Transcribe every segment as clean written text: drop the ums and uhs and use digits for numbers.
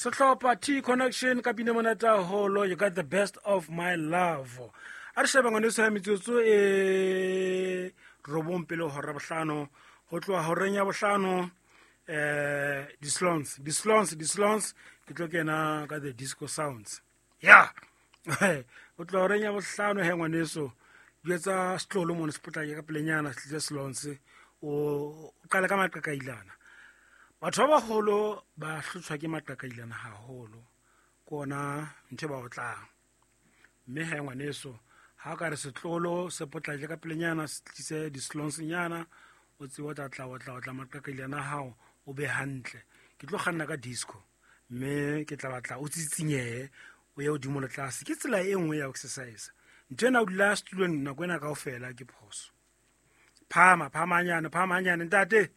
Sehlopha T Connection ka pina monate haholo, You Got the Best of My Love. A re sheba ngwaneso ya metsotso e 9 pele hora bohlano, ho tloha horeng ya bohlano di-slons, di-slons, di-slons, ke tlo kena ka the disco sounds. Ya ho tloha horeng ya bohlano he ngwaneso, jwetsa setlolo mona se potlake ka pelenyana, se tlise slons, o qale ka maqakailana. Batho ba baholo ba hlotshwa ke maqakailana haholo, ke ona ntho e ba otlang. Mme he ngwaneso, ha o ka re setlolo se potlake ka pelenyana, se tlise di-slonsnyana, o tsebe o tla tla otla otla maqakailana a hao, o be hantle. Ke tlo kganna ka disco, mme ke tla batla o tsitsinyehe, o ye hodimo le tlase. Ke tsela e nngwe ya ho exercise. Ntho ena o dula setulong nako ena kaofela ke phoso. Phama, phama hanyane, phama hanyane, ntate.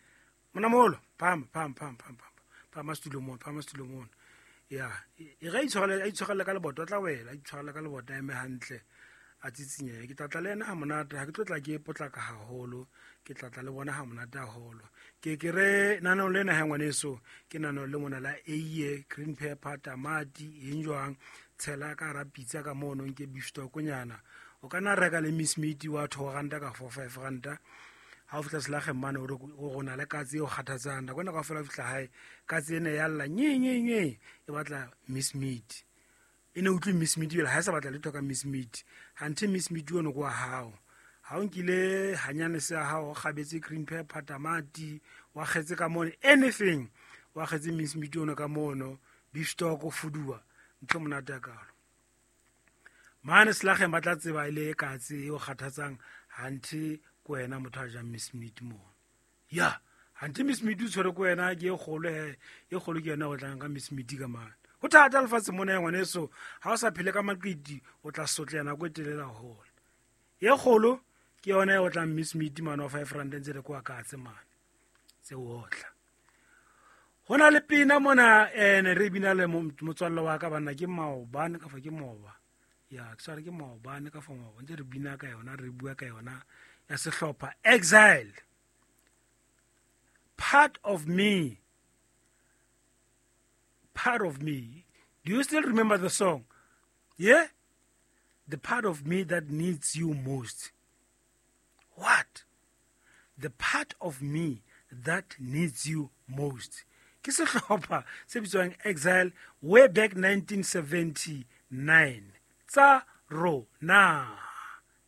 Monamolo, phama, phama, phama, phama, phama. Phama setulong mona, phama setulong mona. Ya, e re a itshwarele ka leboto, a tla wela, a itshwarele ka leboto, a eme hantle, a tsitsinyehe. Ke tla tla le yena ha monate, ha ke tlo tla ke potlaka haholo, ke tla tla le bona ha monate haholo. Ke ke re naneo lena ha ngwaneso, ke naneo le mona la eiye, green pepper, tamati, eng jwang, tshela ka hara pitsa ka mono, nke beef stock nyana. O ka nna reka le miss meat wa 2 ranta ka 4, 5 ranta. Ha o fihla selageng mane, o re o rona le katse e o kgathatsang. Nako ena kaofela o fihla hae, katse ena ya lla, nye, nye, nye, e batla miss meat. E ne utlwe miss meat jwale, ha e sa batla letho ka miss meat. Hanthe miss meat ono ke wa hao. Ha o nkile hanyane se ya hao, o kgabetse green pepper, tamati, wa kgetse ka mono, anything, wa kgetse miss meat ono ka mono, beef stock, o fuduwa, ntho e monate ya kalo. Mane selageng ba tla tseba e le katse e o kgathatsang, hanthe ke wena motho a jang miss meat mono. Ya, hanthe miss meat o tshwere ke wena, ke e kgolo he, e kgolo ke yona o tlang ka miss meat ka mane. Ho thata lefatshe mona ya ngwaneso, ha o sa phele ka maqiti, o tla sotleha nako e telele haholo. E kgolo ke yona e otlang miss meat mane wa 5 rand ntse le kwa katse mane. Tse otla. Ho na le pina mona, ne re bina le motswalle wa ka banna, ke maobane ka fa ke maoba. Ya, ke tshware ke maobane ka fa maoba. Ntse re bina ka yona, re bua ka yona ya sehlopha Exile. Part of me. Part of me. Do you still remember the song? Yeah? The part of me that needs you most. What? The part of me that needs you most. Ke sehlopha se bitswang Exile way back 1979. Tsa rona.